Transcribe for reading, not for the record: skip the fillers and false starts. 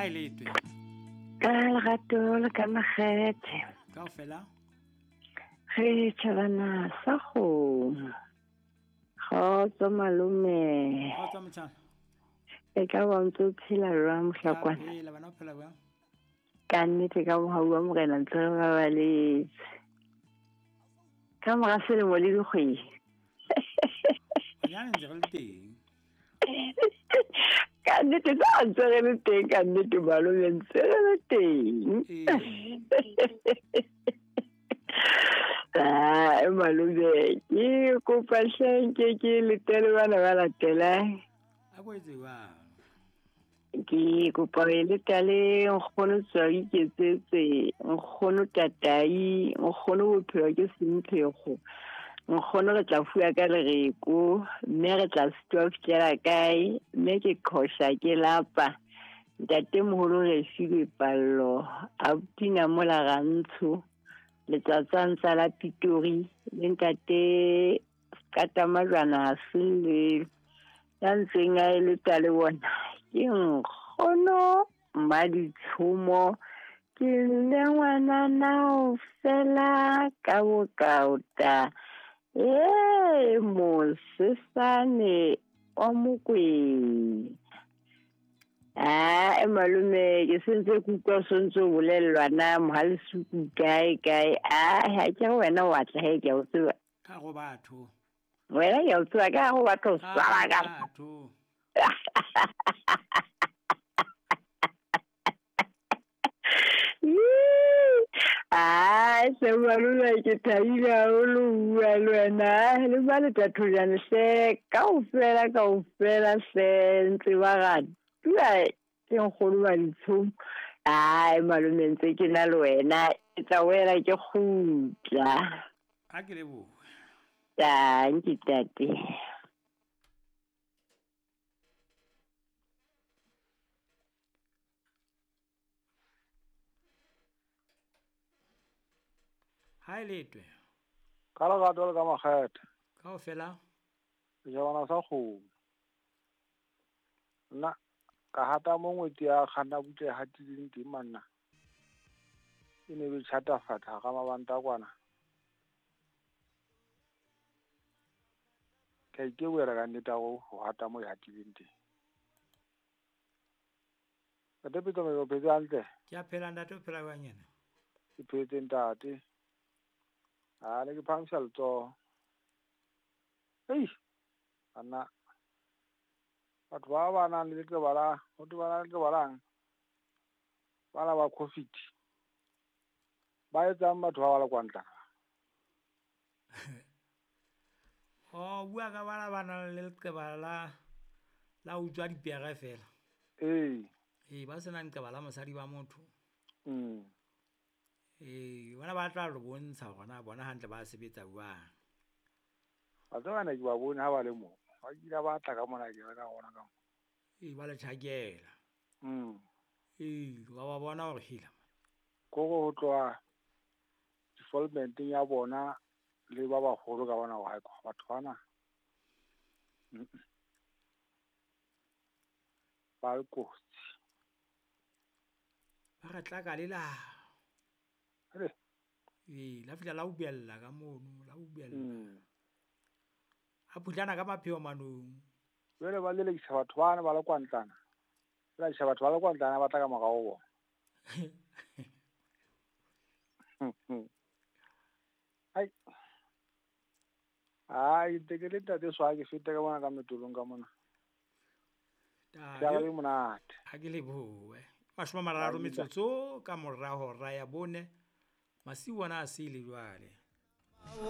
Ha e letwe. Ka lerato le ka makgethe. Kaofela. Re tjhabana sa kgomo. Kgotso malome. Kgotso motjhana. E ka ba ntse o phela jwang mohlakwana? Phela bana o phela jwang? Ka nnete ka mohau wa morena ntse re babaletse. Ka mora selemo le dikgwedi. Bonyane ntse re le teng. Ka nnete tsa ntse re le teng, ka nnete malome ntse re le teng. Ah, malome ke kopa hle nke ke letele bana ba latelang. A ko etse jwang? Ke kopa ho leta le nkgono tswa iketsetse, nkgono tatai, nkgono bophelo ke semphego. Nkgono re tla fuwa ka lereko, mme re tla sitwa ho fihlela kae, mme ke qhosha ke lapa. Ntatemoholo re filwe pallo, abuti Namola Rantsho, letsatsantsa la Pitori, le ntate Katamajwana Selelo. Ya ntseng a eletsa le bona ke nkgono Mmaditshomo, ke le ngwanana o fela ka bokaota. Ee, mosesane wa Mokwena. Ah, malome ke sentse ke utlwa o sontse o bolellwa na Mohalesuku kae kae. Ah, ha ke re wena wa tla he, ke a o tseba. Ka go batho. Wena ke a o tseba ka go batho swara ka. Batho. Ah, se malome ke thabile haholo ho bua le wena. Le ba le tathojane hle, kaofela kaofela hle ntse ba ratuwa ke nkgono wa ditshomo. Ai malome ntse ke na le wena, ke tla boela ke kgutla. Ha ke lebohe. Tanki tate. Ha e letwe. Ka lerato le ka makgethe. Kaofela. Sejabana sa kgomo. Nna ka hata mo ngwetsi ya kganna butle e hatileng teng manna. E ne be tjhatafatsa hara mabanta kwana. Ka ikebohela ka nnete ho hata mo e hatileng teng. Ntate Pitso, o phetse hantle? Ke a phela ntate, o phela jwang yena? Ke phetse ntate. Ha ne ke phahamisa letsoho. Ei, banna. Batho ba ba nang le leqeba la, ho thwe ba na le leqeba lang? Bana ba COVID. Ba etsang batho ba ba le kwantlana? Oh, bua ka bana ba nang le leqeba la utswa dipere fela. Ee. Ee, ba senang leqeba la mosadi wa motho. Ee, bona ba tla lo bontsha hore na bona hantle ba sebetsa jwang. Ba tseba ne ke ba bone ha ba le moo. Ba kile ba tla ka mona ke ka bona ka mo. Ee, ba le tjhakela. Ee, ba ba bona hore hela. Kore ho tloha development-eng ya bona le ba baholo ka bona hore batho bana ba le kotsi. Ba re tlaka le la. Re. Ee, la fihla la ubella ka mono, la ubella. A phutlana ka mapheo manong. Jwale ba lelekisa batho bana ba le kwantlana. Ba lelekisa batho ba le kwantlana ba tla ka morao ho bona. Ai. Ai, ntse ke le ntate Swa, ke fete ka bona ka metolong ka mona. Ke a le monate. Ha ke lebohe. 30 metsotso ka mora hora ya 4. Masiu ona a sele jwale.